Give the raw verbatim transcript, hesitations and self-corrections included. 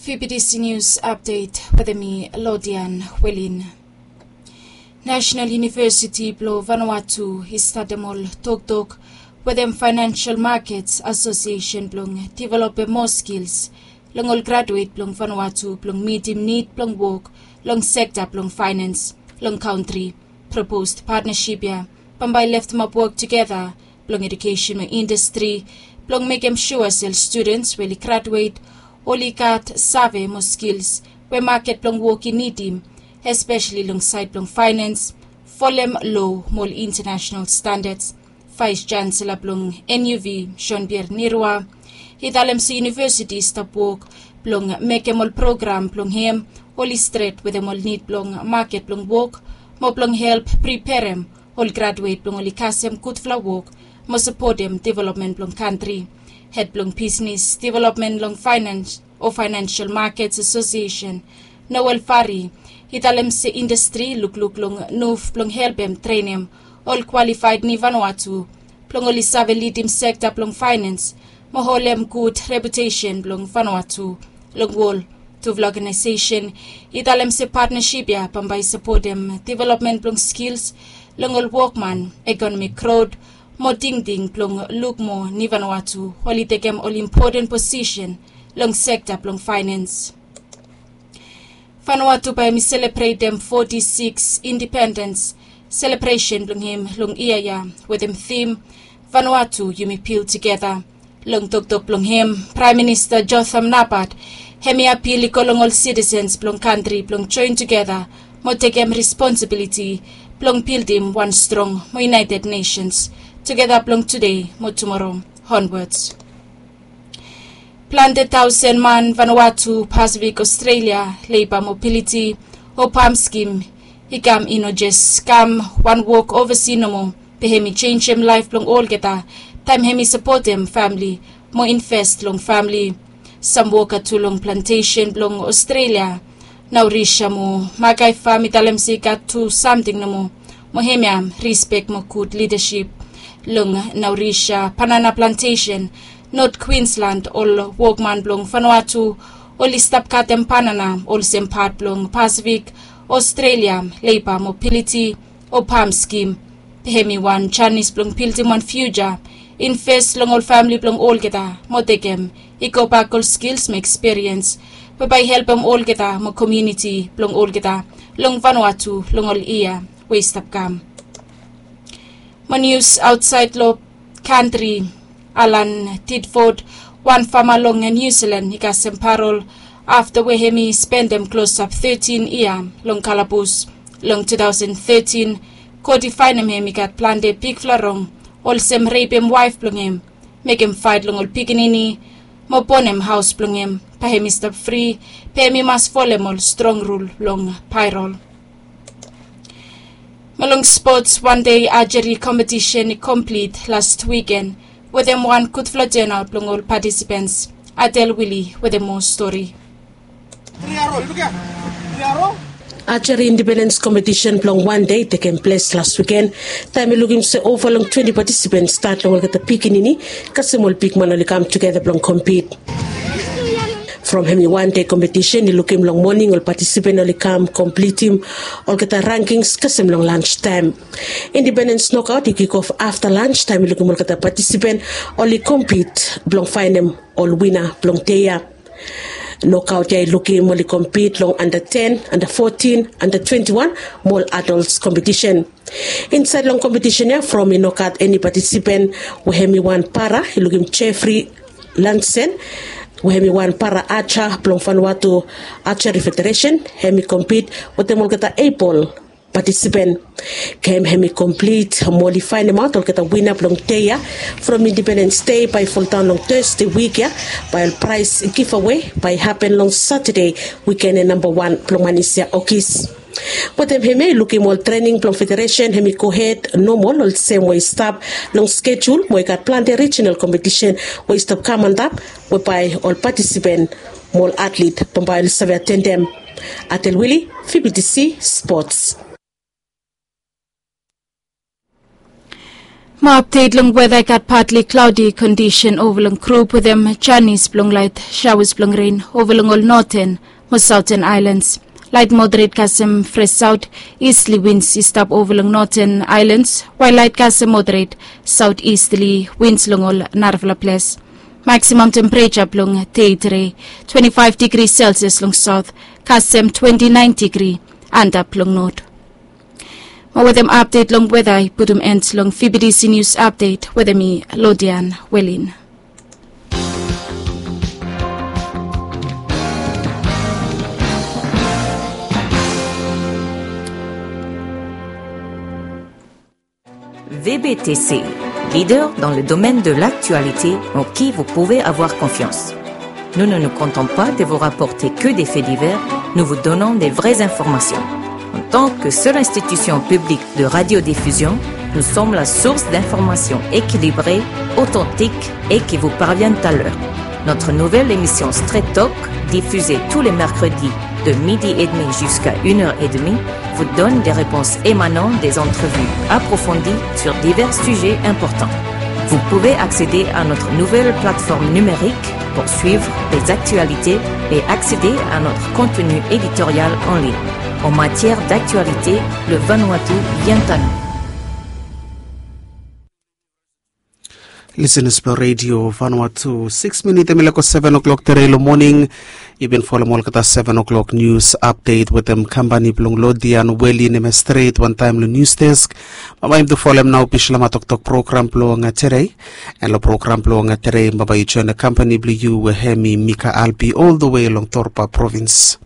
Fifty News Update wetem mi, Lodian Welin. National University blong Vanuatu i statem ol toktok wetem Financial Markets Association blong developem moa skils long ol graduet blong Vanuatu blong mitim nid blong wok long sekta blong faenens long kantri. Proposed partnership ya bambae i leftemap wok tugeta blong edukesen mo indastri blong mekem sua se ol studens we oli graduet oli gat save mo skils we maket blong wok i nidim, espeseli long saed blong faenens, folem loa mo ol intanasenal standads. Vaes Chansela blong N U V, Jean Pierre Nirwa, i talem se yunivesiti i stap wok blong mekem ol program blong hem oli stret wetem ol nid blong maket blong wok mo blong help preperem ol graduet blong oli kasem gudfala wok mo sapotem developmen blong kantri. Hed blong bisnes developmen long faenens o Financial Markets Association, Noel Fari, i talem se indastri i lukluk long nuv blong helpem trenem ol kwalifaed ni Vanuatu blong oli save lidim sekta blong faenens mo holem gud reputesen blong Vanuatu long wol. Tufala ogenaesesen i talem se patnasip ya bambae i sapotem developmen blong skils long ol wokman, ekonomik grot mo tingting blong luk moa ni Vanuatu oli tekem ol impoten posisen long sekta blong faenens. Vanuatu bae hem i selebretem foti sikis indipendens selebresen blong hem long yia ya wetem tim Vanuatu yumi bil tugeta. Long toktok blong hem, Praem Minista Jotham Napat hem i apil i go long ol sitisens blong kantri blong joen tugeta mo tekem responsibiliti blong bildim wan strong mo United Nations tugeta blong tude mo tumoro onwats. Plante taosen man Vanuatu, Pasifik, Australia, Leiba Mobiliti o PALM skim i kam i no jes kam wan wok ovasi nomo, be hem i jenjem laef blong olgeta taem hem i sapotem famle mo inves long famle. Sam woka tu long plantesen blong Australia, Naurisha mo Makai Fam i talem se i gat tu samting nomo, mo hemia rispek mo gud lidasip. Long Naurisha banana plantesen, Not Queensland, ol wokman blong Vanuatu oli stap katem banana olsem pat blong Pasifik, Australia, Leiba Mobiliti o PALM skim. Be hem i wan janis blong bildim wan fiuja, inves long ol famle blong olgeta mo tekem i gobak ol skils mo ekspiriens we bae i helpem olgeta mo komuniti blong olgeta long Vanuatu long ol yia we i stap kam. Mo nius aotsaed long kantri, Alan Tidford, wan fama long Niu Silan i kasem parol afta we hem i spendem klosap tetin yia long kalabus. Long tu taosen tetin, kot i faenem hem i gat plante bigfala rong olsem repem waef blong hem, mekem faet long ol pikinini mo bonem haos blong hem. Bae hem i stap fri, be hem i mas folem ol strong rul long parol. Mo long spots, wan dei ajeri kompetisen i komplit las wiken wetem wan gudfala tenaot blong ol patisipens. Adel Wili wetem moa stori. Ajeri indipendens kompetisen blong wan dei i tekem ples las wiken, taem i lukim se ova long twenti patisipens, stat long olgeta pikinini kasem ol bigman oli kam tugeta blong kompit. From hem i wan dei kompetisen i lukim long moning ol patisipen oli kam komplitim olgeta rankings kasem long lanstaem. Indipendens nokaot i kikof afta lanstaem i lukim olgeta patisipen oli kompit blong faenem ol wina blong dei ya. Nokaot ya i lukim oli kompit long anda ten, anda fotin, anda twenti wan mo ol adols kompetisen. Insaed long kompetisen ya, from i no gat eni patisipen we hem i wan para, i lukim Jeffrey Lansen we hem i wan para aja blong Vanuatu Ajeri Federesen, hem i kompit wetem olgeta ebol patisipen. Gem hem i komplit mo oli faenemaot olgeta wina blong dei ya from Indipendens Dei bae i foldaon long Tøsde wik ya. Bae ol praes givawe bae i hapen long Satade, wikene namba wan blong manis ya, Ogis. Wetem hemia i lukim ol trening blong federesen hem i gohed nomol olsem we i stap long skejul mo i gat plante rijinal kompetisen we i stap kam antap we bae ol patisipen mo ol atlit bambae oli save atendem. Atel Wili, V B T C Spots. Mo apdet long weda i gat patli klaudi kondisen ova long grup wetem janis blong lait shawas blong ren ova long ol noten mo saoten ailans. Lait moderet kasem fres saot istli wins i stap ova long noten ailans, wael lait kasem moderet saot istli wins long ol narafala ples. Maksimam tempereja blong dei tede twenti faef digri selsias long saot, kasem twenti naen digri antap long not. Mo wetem apdet long weda i putum end long vbtc nius apdet wetem mi, lodian welin. Vbtc, leader dans le domaine de l'actualité en qui vous pouvez avoir confiance. Nous ne nous contentons pas de vous rapporter que des faits divers, nous vous donnons des vraies informations. En tant que seule institution publique de radiodiffusion, nous sommes la source d'informations équilibrées, authentiques et qui vous parviennent à l'heure. Notre nouvelle émission Straight Talk, diffusée tous les mercredis de midi et demi jusqu'à une heure et demie, vous donne des réponses émanant des entrevues approfondies sur divers sujets importants. Vous pouvez accéder à notre nouvelle plateforme numérique pour suivre les actualités et accéder à notre contenu éditorial en ligne. En matière d'actualité, le Vanuatu vient à nous. Lisenas blong redio Vanuatu, sikis minit em i leko seven o'clock tede long moning. Yu bin folom olgeta seven o'clock nius apdet wetem kampani blong lodian weli nem ya stret wantaem long nius desk. Bambae yumi tu folem nao bislama toktok program blong tede. An long program blong tede bambae yu joen kampani blong yu we hem i mika albi ol the wei long torpa provins.